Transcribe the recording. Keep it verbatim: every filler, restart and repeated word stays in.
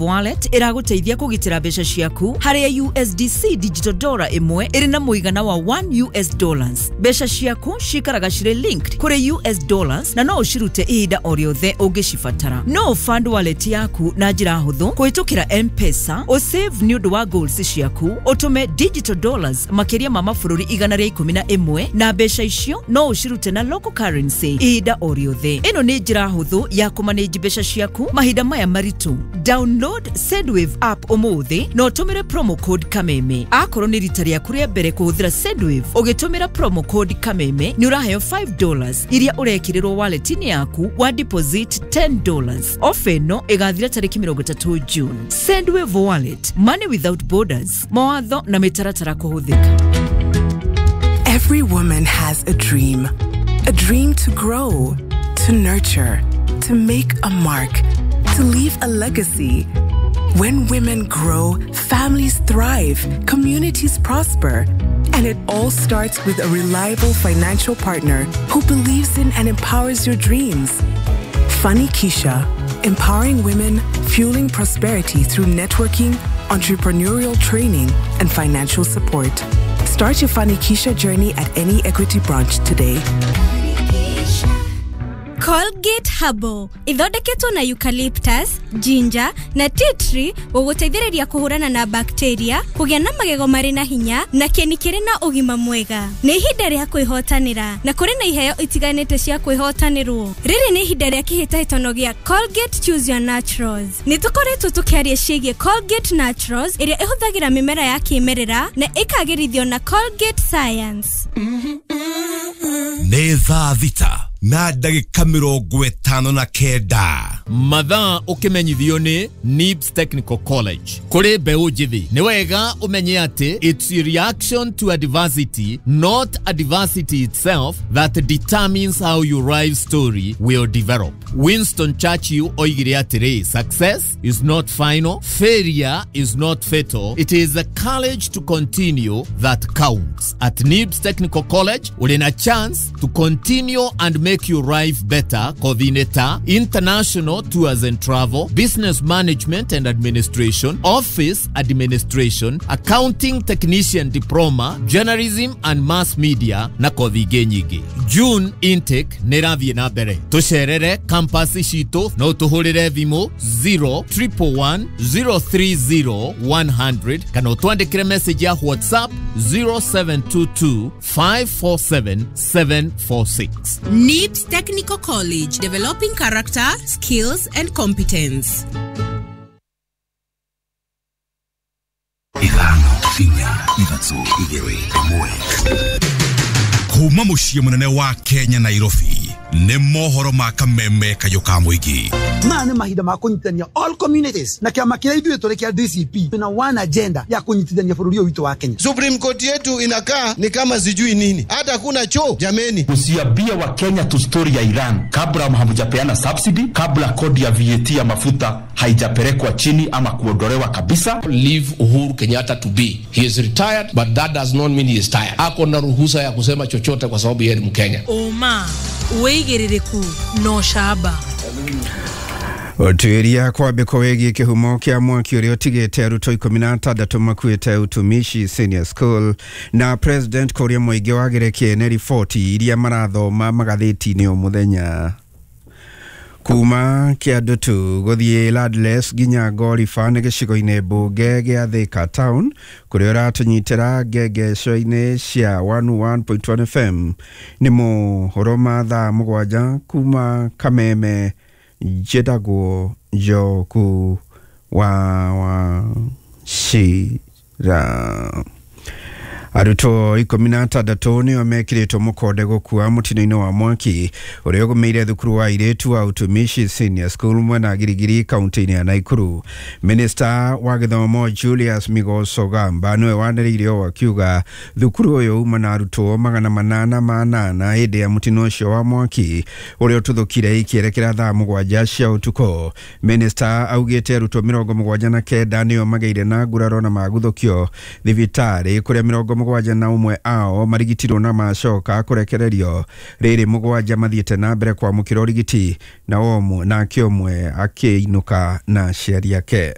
Wallet ĩragũteithia kũgitĩra mbeca ciaku harĩa U S D C digital dollar ĩmwe ĩrĩ na mũigana wa one U S dollars. Mbeca ciaku cikaraga cirĩ linked kũrĩ U S dollars na no ũcirute ihinda o rĩothe ũngĩcibatara. No ũfund wallet yaku na njĩra hũthũ kũhĩtũkĩra M-Pesa, ũsave nĩ ũndũ wa goals ciaku, ũtũme digital dollars makĩria ma mabũrũri igana rĩa ikũmi na ĩmwe na mbeca icio no ũcirute na local currency ihinda o rĩothe. Ĩno nĩ njĩra hũthũ ya kũmanage mbeca ciaku mahinda maya maritũ. Download Sendwave app ũmũthĩ na ũtũmĩre promo code Kameme. Akorwo nĩ rita rĩaku rĩa mbere kũhũthĩra Sendwave, ũgĩtũmĩra promo code Kameme nĩ ũraheo five dollars iria ũrekĩrĩrwo wallet-inĩ yaku wa deposit ten dollars. Ofa ĩno ĩgathira tarĩki mĩrongo ĩtatũ June. Sendwave Wallet, money without borders. Mawatho na mĩtaratara kũhũthĩka. Every woman has a dream. A dream to grow, to nurture, to make a mark, to leave a legacy. When women grow, families thrive, communities prosper. And it all starts with a reliable financial partner who believes in and empowers your dreams. Fanikisha, empowering women, fueling prosperity through networking, entrepreneurial training, and financial support. Start your Fanikisha journey at any Equity branch today. Colgate Herbal ithondeketwo na eucalyptus, ginger na tea tree gũgũteithĩrĩria kũhũrana na bacteria, kũgĩa na magego marĩ na hinya na kĩni kĩrĩ na ũgima mwega. Nĩ ihinda rĩa kwĩhotanĩra na kũrĩ na iheo itiganĩte cia kwĩhotanĩrwo. Rĩrĩ nĩ ihinda rĩa kĩhĩtahĩtano gĩa Colgate Choose Your Naturals. Nĩ tũkoretwo tũkĩaria ciĩgiĩ Colgate Naturals ĩrĩa ĩhũthagĩra mĩmera ya kĩmerera na ĩkagĩrithio na Colgate Science. Nĩ thaa thita na ndagĩka mĩrongo ĩtano na kenda. Mathaa ũkĩmenyithio nĩ NIBS Technical College. Kũrĩ mbeũ njĩthĩ, nĩ wega ũmenye atĩ it's a reaction to adversity, not adversity itself, that determines how your life story will develop. Winston Churchill oigire atĩrĩ, "Success is not final, failure is not fatal, it is the courage to continue that counts." At NIBS Technical College, ũrĩ na chance to continue and make your life better. Kothi-inĩ ta international tours and travel, business management and administration, office administration, accounting technician diploma, journalism and mass media na kothi ingĩ nyingĩ. June intake nĩ ĩrathiĩ na mbere. Tũcerere campus citũ, no tũhũrĩre thimũ zero one one one zero three zero one hundred kana ũtwandĩkĩre message ya WhatsApp zero seven two two five four seven seven four six. NIBS Technical College, developing character, skills, and competence. Ithano, inya, ithatũ, igĩrĩ, ĩmwe. Kuma mũciĩ mũnene wa Kenya, Nairobi, nĩ mohoro ma Kameme kayũ ka mũingĩ. Maya nĩ mahinda ma kũnyitithania all communities na kĩama kĩrĩa ithuĩ tũrĩ kĩa D C P na one agenda ya kũnyitithania bũrũri ũyũ witũ wa Kenya. Supreme Court yetu inakaa ni kama sijui nini, hata kuna choo jameni. Usiambie Wakenya tu story ya Iran kabla hamjapeana subsidy, kabla kodi ya V A T ya mafuta haijapelekwa chini ama kuondolewa kabisa. Leave Uhuru Kenyatta to be. He is retired, but that does not mean he is tired. Ako na ruhusa ya kusema chochote kwa sababu yeye ni Mkenya. Ũma, wĩigĩrĩrĩku na ũcamba. Ũtuĩria kwambĩkwo wĩgiĩ kĩhumo kĩa mwaki ũrĩa ũtigĩte arutwo ikũmi na atandatũ makuĩte Utumishi Senior School, na President kũria mũingĩ wagĩre kĩene riboti iria marathoma magathĩti-inĩ o mũthenya. Kuma Kĩandutu gũthiĩ Landless nginya Ngoriba nĩ gĩcigo-inĩ mbunge gĩa Thika Town kũrĩa ũratũnyitĩra ngengeco-inĩ cia one oh one point one F M. Nĩ mohoro ma thaa mũgwanja kuma Kameme. Njĩtagwo Njoku wa Wachira. Arutwo ikũmi na atandatũ nĩo mekĩrĩtwo mũkonde gũkua mũtino-inĩ wa mwaki ũrĩa ũgũmĩire thukuru wa airĩtu wa Utumishi Senior School mwena Girigiri, kaunti-inĩ ya Naikuru. Minista wa gĩthomo Julius Migos Ogamba nĩwe wanĩrĩire ũũ akiuga thukuru ũyũ uma na arutwo magana manana ma nana hĩndĩ ya mũtino ũcio wa mwaki ũrĩa ũtuthũkire ikĩerekera thaa mũgwanja cia ũtukũ. Minista augĩte arutwo mĩrongo mũgwanja na kenda nĩo magĩire na nguraro na maguthũkio thibitarĩ, kũrĩa mĩrongo mũgwanja na ũmwe ao marigitirwo na macoka kũrekererio, rĩrĩ mũgwanja mathiĩte na mbere kwamũkĩra ũrigiti na ũmwe nake ũmwe akĩinũka na aciari ake.